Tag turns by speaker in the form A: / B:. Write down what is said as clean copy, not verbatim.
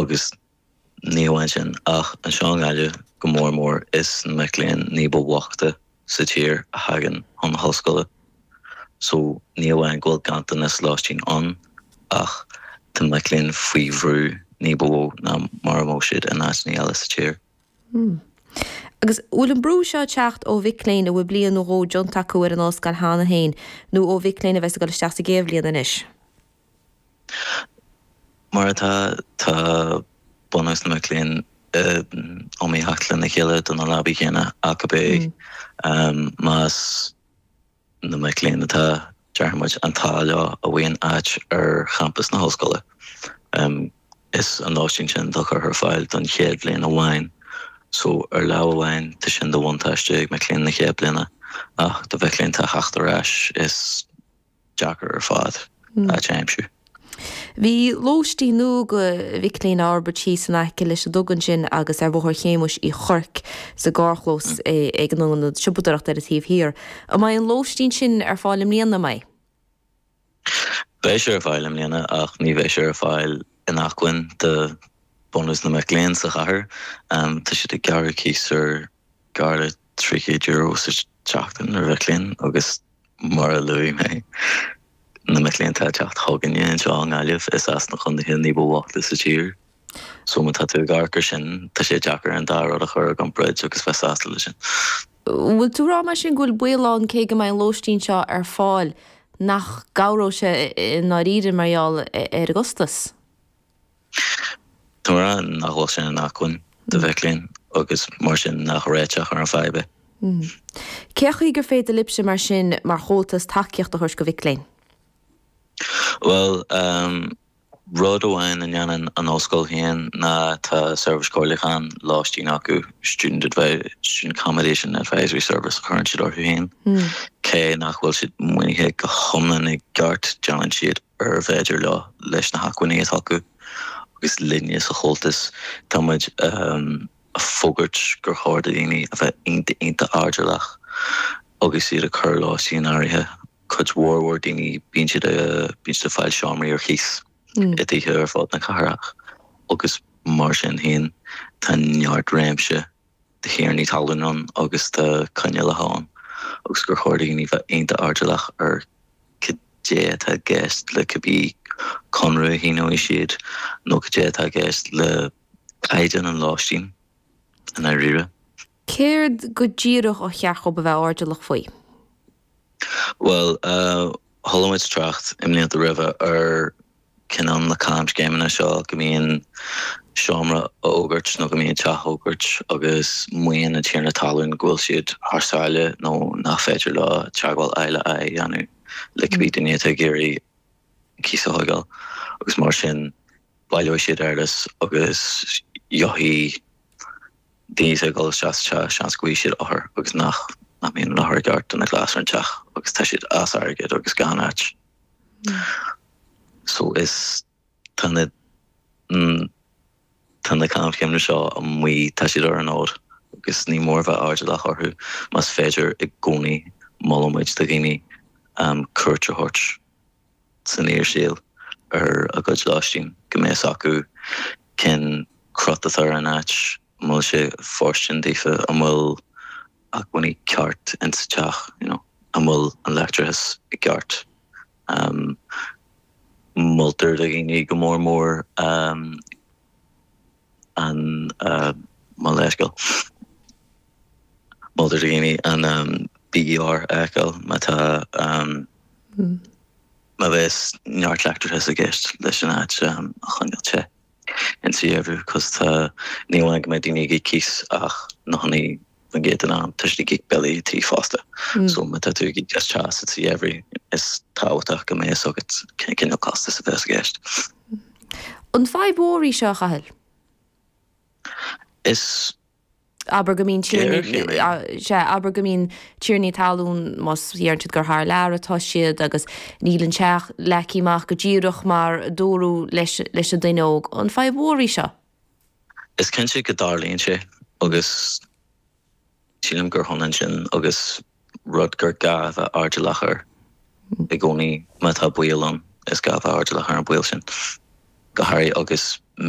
A: Agus ní amháin sin, ach anseo i nGaillimh go mór mór, is na mic léinn ní ba bhoichte sa tír a thagann chun na hollscoile. So ní amháin go bhfuil ganntanas lóistín ann, ach tá mic léinn faoi bhrú ní ba mhó ná mar a bheadh siad in áiteanna eile sa tír.
B: Agus bhfuil an brú seo ag teacht ó mhic léinn a bhfuil bliain nó dhó déanta acu ar an ollscoil cheana féin, nó ó mhic léinn a bheas ag dul isteach sa gcéad bhliain anois?
A: Mar atá, tá bunús na mac léinn in iomaíocht lena chéile do na leabaí céanna ach ab é más na mic léinn atá, déarfaidh muid, an t-ádh leo a bhfaigheann áit ar champas na hollscoile. Is an lóistín sin atá curtha ar fáil don chéad bhliain amháin. So, ar lámh amháin, tá sin de bhuntáiste ag mic léinn na chéad bliana, ach do mhic léinn atá ag theacht ar ais, is deacair ar fad áit a aimsiú.
B: Bhí lóistín nua do mhic léinn á fhorbairt thíos in aice leis an duga ansin agus ar Bhóthar Shéamuis Uí Chuirc sa gcarrchlós ag an ionad siopadóireachta ar an taobh thiar. An mbeidh an lóistín sin ar fáil i mbliana, an mbeidh?
A: Beidh sé ar fáil i mbliana ach ní bheidh sé ar fáil in acmhainn do bhunús na mac léinn sa chathair. Tá siad ag gearradh cíos ar gar le €300 sa tseachtain ar mhic léinn agus mar a luaigh mé, na mic léinn atá ag teacht chugainne anseo i nGaillimh, is as na contaetha ní ba bhoichte sa tír. So má tá tú ag amharc ar sin, tá sé deacair an dá rud a chur i gcomparáid agus bheith sásta leis sin.
B: Bhfuil tú ag rá mar sin go bhfuil baol ann cé go mbeidh an lóistín seo ar fáil nach gcabhróidh sé i ndáiríre mar gheall ar an gcostas?
A: Tá mé ag rá nach bhfuil sé in acmhainn do mhic léinn agus mar sin nach réiteach ar an fadhb é.
B: Cé chaoi gur féidir libhse mar sin mar Chomhaltas tacaíocht a thabhairt do mhic léinn?
A: Bhuel, rud amháin a ndéanann an ollscoil féin ná tá seirbhís comhairliúcháin lóistín acu, Student Student Accommodation Advisory Service a chuireann siad orthu féin. Cé nach bhfuil siad maoinithe go hiomlán i gceart, déanann siad ar féidir leo leis na hacmhainní atá acu agus linne sa Chomhaltas tá muid ag fógairt gur chóir do dhaoine a bheith iontach iontach airdeallach agus iad ag cur lóistín in áirithe. Cuid mhór mhór daoine bíonn siad bíonn siad ag fáil seomraí ar chíos i dtithe ar fud na cathrach agus mar sin féin tá neart réimse de thiarnaí talún ann agus de choinníollacha ann agus gur chóir do dhaoine bheith iontach airdeallach ar cad é atá i gceist le cibé conradh a shíneoidh siad nó cad é atá i gceist le caighdeán an lóistín i ndáiríre.
B: Céard go díreach a cheart dhóibh a bheith airdeallach faoi?
A: Bhuel, chuala muid trácht i mblianta roimhe ar cineál na camscéimeanna seo go mbíonn seomra á fhógairt nó go mbíonn teach á fhógairt agus maíonn an tiarna talún go bhfuil siad thar sáile nó nach féidir leo teagmháil aghaidh le aghaidh a dhéanamh le cibé duine atá ag iarraidh cíos a thógáil agus mar sin baileoidh siad eolas agus gheobhaidh daoine atá ag dul isteach sa teach seans go bhfaighidh siad othair agus nach nach mbíonn an othar i gceart do na gléas ar an teach agus tá siad as airgead agus gan áit. So is tá na tá na camscéimeanna seo amuigh, tá siad ar an fhód agus ní mór bheith airdeallach orthu. Más féidir i gcónaí molann muid do dhaoine cuairt a thabhairt san fhíorshaol ar a gcuid lóistín, go mbeidh fhios acu cén crot atá ar an áit, an bhfuil sé fóirstean daofa, an bhfuil acmhainní ceart in sa teach, you know, an bhfuil an leictreachas i gceart. Moltar do dhaoine go mór mór an mo leithscéal. Moltar do dhaoine an BER a fheiceáil má tá má bheas neart leictreachais i gceist leis an áit a choinneáil te. Insa gheimhreadh cos tá, ní amháin go mbeidh daoine ag íoc cíos ach 90% den am tá siad ag íoc billí tí fosta. So má tá tú ag íoc as teas sa gheimhreadh is tábhachtach go mbeidh fhios agat cén cineál costas a bheas i gceist.
B: An fadhb mhór í seo, a Chathail?
A: Is.
B: Abair go mbíonn tiarnaí, sea, abair go mbíonn tiarnaí talún, más deireann siad gur thar lear atá siad agus níl an teach leagtha amach go díreach mar a dúradh leis leis an duine óg. An fadhb mhór í seo?
A: Is cinnte go dtarlaíonn sé agus sílim gur hionann sin agus rud gur gá a bheith airdeallach air i gcónaí. Má tá baol ann, is gá a bheith airdeallach ar an baol sin, go háirithe agus.